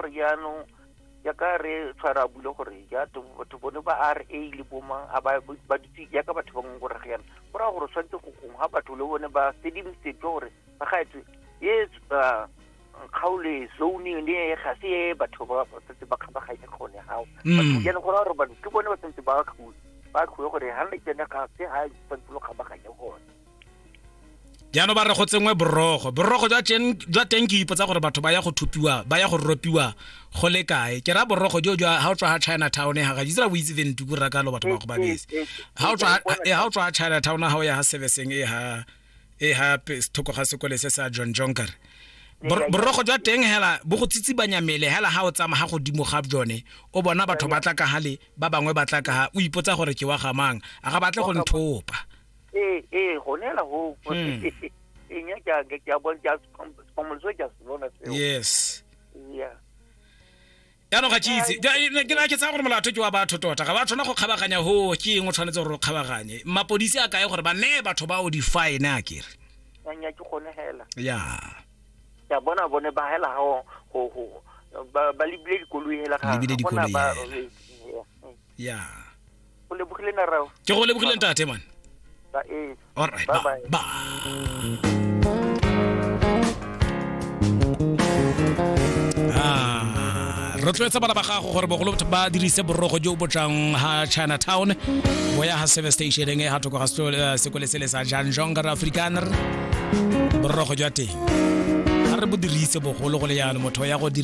gore jaanong jaaka re tshwara a bule gore ja batho bone ba RA le bomang a ba ba dutse jaaka batho ba ngongorega yana, go raya gore tshwanetse go gongwe ga batho le bone ba sedimosetswe gore ba gaetswe e kgaolo zone ne ga se e batho ba santse ba kgabaganye gone gao. Batho jaanong go raya gore batho ke bone ba santse ba kgwe gore ga le tsene ga se ga tshwanetse lo kgabaganye gone. Jaanong ba re go tsengwe borogo jwa teng. Ke ipotsa gore batho ba ya go thupiwa, ba ya go ropiwa go le kae. Ke ra borogo jo jwa ha o tswa ha Chinatown, ha ga ditsela o itse ventuku ra ka lo batho ba go ba bese. Ha o tswa ha Chinatown, ha o ya ha serviceng e ha thoko ga sekole se sa John Jonker, borogo jwa teng hela bo go tsitsibanya mele hela ha o tsamaya ga godimo ga jone, o bona batho ba tla ka hale, ba bangwe ba tla ka ha, o ipotsa gore ke wa ga mang, a ga batle go nthopa. Ee, gone hela ho eng ya ke a bona, ke a se ke a se bona seo. Yes. Yeah. Jaanong ga ke itse, ke na ke tsaya gore molato ke wa batho tota, ga ba tshwana go kgabaganya ho, ke eng o tshwanetse gore o kgabaganye? Mapodisi a kae gore ba neye batho ba o di-fine a kere? Nya, ke gone hela. Ya. Ke a bona bone ba hela go go ba lebile dikoloi hela ga lebile dikoloi hela. Ya. Go lebogile narao. Ke go lebogile ntate man. Ba e. All right. Bye bye. Bye. Ah, rotloetsa bana ba gago gore bogolo ba dirise borogo jo bo tlang ha Chinatown bo ya ha service stationeng e ha thoko ga sekole sele sa Jan Jonker Afrikaner. Borogo jwa teng ga re bo dirise bogolo go le yalo motho ya go dira.